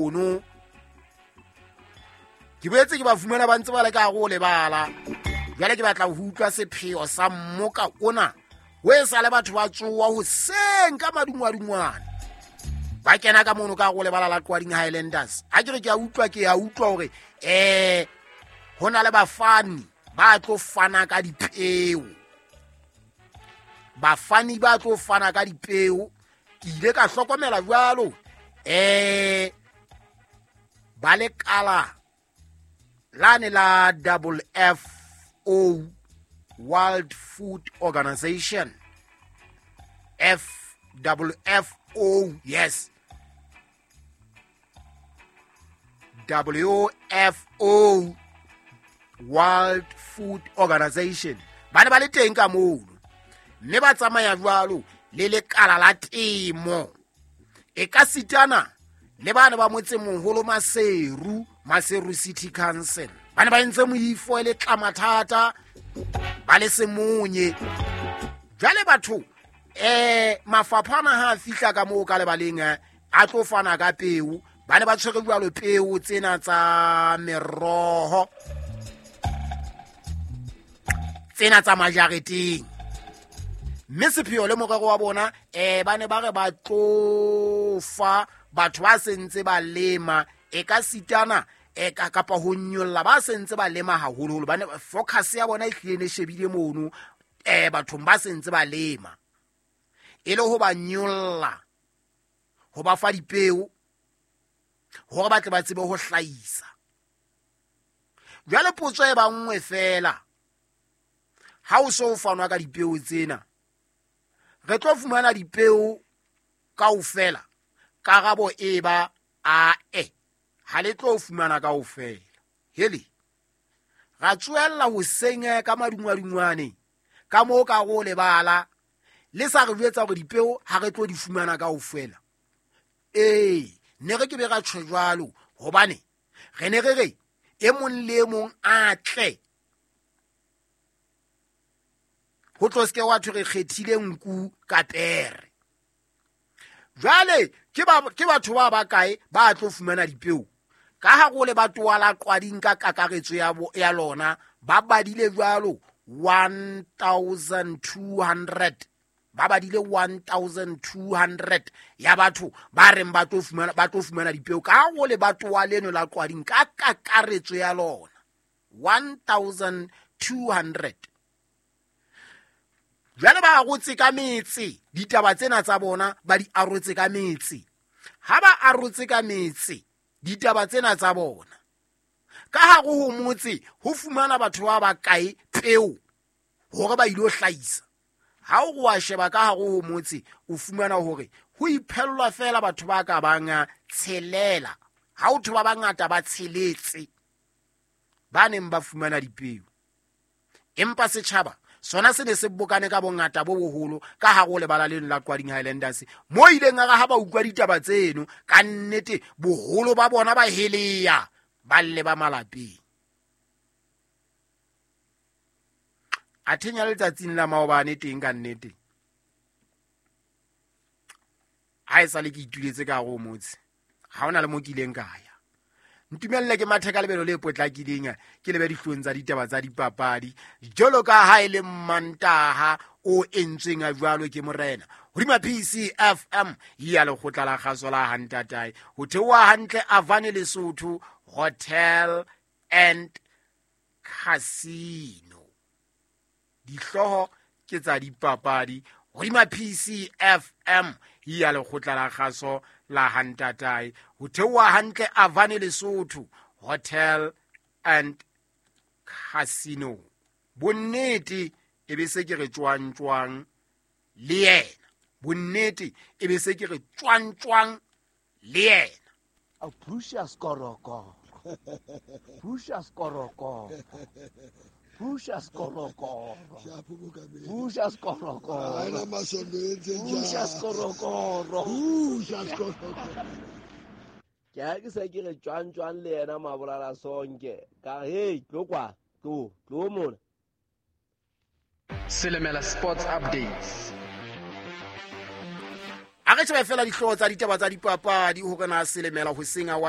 Mono ke boetse ke ba fumana ba ntse ba le ka gare o lebala. Jwale ke batla ho utlwa sepheo sa mmoka ona o e sa le batho ba tsoa hoseng ka madungwadungwane ba kena ka mono ka go lebala la Qwading Highlanders. Ha ke re ke a utlwa, ke a utlwa hore ho na le bafani ba tlo fana ka dipeo. Bafani ba tlo fana ka dipeo. Ke ile ka hlokomela jwalo ba lekala lane la double F O World Food Organization, F double F O, yes, W F O World Food Organization, ba ne ba le teng ka mono mme ba tsamaya jwalo le lekala la temo. E ka sitana le bana ba motsemoholo Maseru, Maseru City Council, ba ne ba entse moifo e le tlamathata ba le semonye. Jwale batho mafapha ana ha a fihla ka moo ka lebaleng a tlo fana ka peo, ba ne ba tshwere jwalo peo tsena tsa meroho, tsena tsa majareteng. Mme sepheo le morero wa bona ba ne ba re ba tlo fa batho ba sentse ba lema, e ka sitana e ka kapa ho nyolla ba sentse ba lema haholoholo. Ba ne focus ya bona e hlile ne shebile mono bathong ba sentse ba lema, e le ho ba nyolla, ho ba fa dipeo hore ba tle ba tsebe ho hlahisa. Jwale potso e ba nngwe fela, ha o so fanwa ka dipeo tsena, re tlo fumana dipeo kaofela? Karabo e ba a e, ha le tlo fumana kaofela. Hele, ra tswella hoseng ka madungwadungwane ka moo ka go lebala le sa re jwetsa hore dipeo ha re tlo di fumana kaofela. Ee, ne re ke be ra tjho jwalo hobane re ne re re e mong le e mong a tle, ho tlo se ke wa thwe re kgethile nku ka pere. Jwale ke batho ba bakae ba tlo fumana dipeo? Ka ha go le batho la Qwading ka kakaretso ya lona ba badile jwalo 1200, ba badile 1200 ya batho ba reng ba tlo fumana dipeo ka go le batho leno la Qwading ka kakaretso ya lona 1200. Jwale ba arotse ka metse ditaba tsena tsa bona, ba di arotse ka metse. Ha ba arotse ka metse ditaba tsena tsa bona, ka hare ho motse ho fumana batho ba bakae peo hore ba ilo hlahisa. Ha o wa sheba ka hare ho motse o fumana hore ho iphellwa fela batho ba ka bang tshelela, ha o thwe ba bangata ba tsheletse ba neng ba fumana dipeo. Empa setjhaba sona se ne se bokane ka bongata bo boholo ka hare ho lebala leno la Qwading Highlanders, mo ileng a re ha ba utlwa ditaba tseno ka nnete boholo ba bona ba heleya ba lle ba malapeng. A thenya letsatsing la maobane teng ka nnete, ha e sale ke ituletse ka hare ho motse, ha hona le mo ke ileng ka ya. Ntumelle ke mathe ka lebelo le potlakileng, ke lebe dihlong tsa ditaba tsa dipapadi jwalo ka ha e le Mantaha o entsweng a jwalo ke morena hodima PCFM ya lekgotla la kgaso la Hantatae, ho theoha hantle Avane Lesotho Hotel and Casino. Dihlooho ke tsa dipapadi hodima PCFM ya lekgotla la kgaso la Hantatae, ho theoha hantle Avane Lesotho Hotel and Casino. Bonnete e be se ke re tjwang-tjwang le yena, bonnete e be se ke re tjwang-tjwang le yena. A Precious Korokoro, Precious Korokoro, Precious Korokoro, Precious Korokoro, Precious Korokoro, Precious Korokoro. Ke ha ke se ke re tjwang-tjwang le yena Mabolala Sonke. Ka re, hey, tlo kwa, tlo, tlo mona. Selemela Sports Updates. A A re shebe fela dihlooho tsa ditaba tsa dipapadi hore na selemela ho senya wa.